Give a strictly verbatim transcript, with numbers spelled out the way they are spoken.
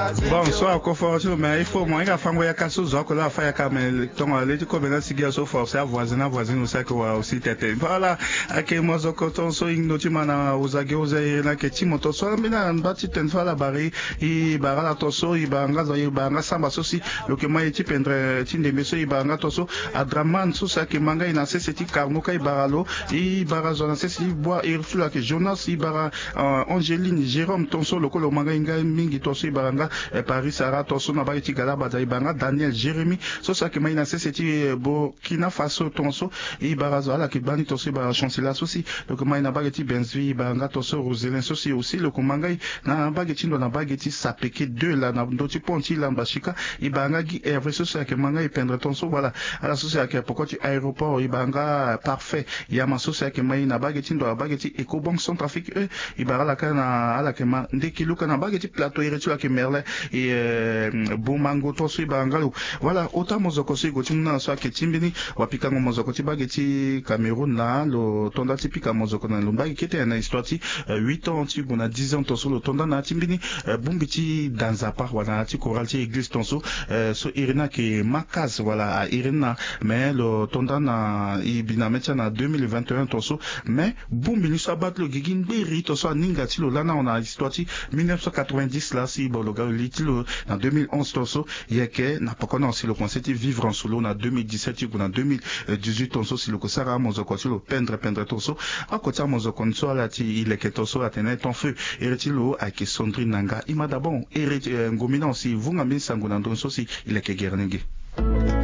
Bon, so ako fort ti lo, mais il faut mo hinga fango yaka so zo ako la afa yaka, mais tongo ale ti kobe na sigi ya so forcé avoisine avoisine aussi ayeke wara aussi tete. Voilà, ayeke mozoko tongo so hingo ti ma na oza ge oza iri na yeke ti mo tongo so ambeni amba ti tene fâ ala bari. E bara ala tongo so e bara nga zo e bara nga samba so si lo yeke ma e ti pendre ti ndembe so e bara nga tongo so Adraman so si ayeke ma nga e na sese ti Karnoka e bara lo. E bara zo na sese ti Bois iri ti lo ayeke Jonas e bara Angeline Jérôme tonso lo kue lo ma nga hinga mingi tonso e bara nga Paris Sarah tonso na bage ti Galabada e bara nga Daniel Jérémie so si ayeke ma e na sese ti Burkina Faso tonso e bara zo ala yeke gbani tonso e bara Chancela so si lo yeke ma e na bage ti Benzvi e bara nga tonso Roselin so si aussi lo yeke ma nga e na bage ti ndo na bage ti Sapeke deux laa na ndö ti pont ti Lamba Sika e bara nga Guy Hervé so si ayeke ma nga e pendre tonso voilà. Ala so si ayeke poko ti aéroport e bara nga Parfait Yama so si ayeke ma e na bage ti ndo na bage ti Ecobank Centrafrique e. E bara ala kâ na ala yeke ma ndeki luka na bage ti plateau iri ti lo ayeke Merlin e Bomango tonso e bara nga lo. Voilà ota mozoko so e gue ti mu na ala so ayeke ti mbeni wapikango mozoko ti bage ti Cameroun laa lo tonda ti pika mozoko na lo mbage kete na histoire ti huit ans ti gue na dix ans tonso lo tonda na ya ti mbeni bongbi ti da nzapa wala na ya ti chorale ti église tonso so iri ni ayeke Makaz wala a iri ni na mais lo tonda na e bi na mê ti ala na deux mille vingt et un tonso. Mais bongbi ni so abaa ti lo gigi ngberi tonso aninga ti lo lani awe na histoire ti mille neuf cent quatre-vingt-dix laa si bon lo ga lo li ti lo na deux mille onze tonso. Yeke na poko ni awe si lo komanse ti vivre en solo na deux mille dix-sept ti gue na deux mille dix-huit tonso si lo yeke sara amozoko ti lo pendre pendre tonso. Oko ti amozoko ni so ala ti e leke tonso atene ton feu. Iri ti lo ayeke Sandrine Nanga e ma dabon iri ti ngomina awe si e vunga mbeni sango na ndö ni so si e leke gere ni ge.